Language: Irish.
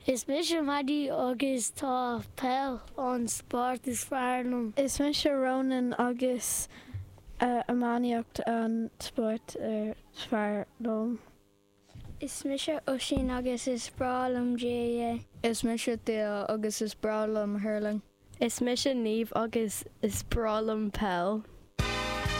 Is mise Maddie agus tá peil an spórt is fearr liom. Is mise Ronan agus iománaíocht an spórt is fearr liom. Is mise Oisín agus is breá liom GAA. Is mise Theo agus is breá liom hurling. Is mise Niamh agus is breá liom peil.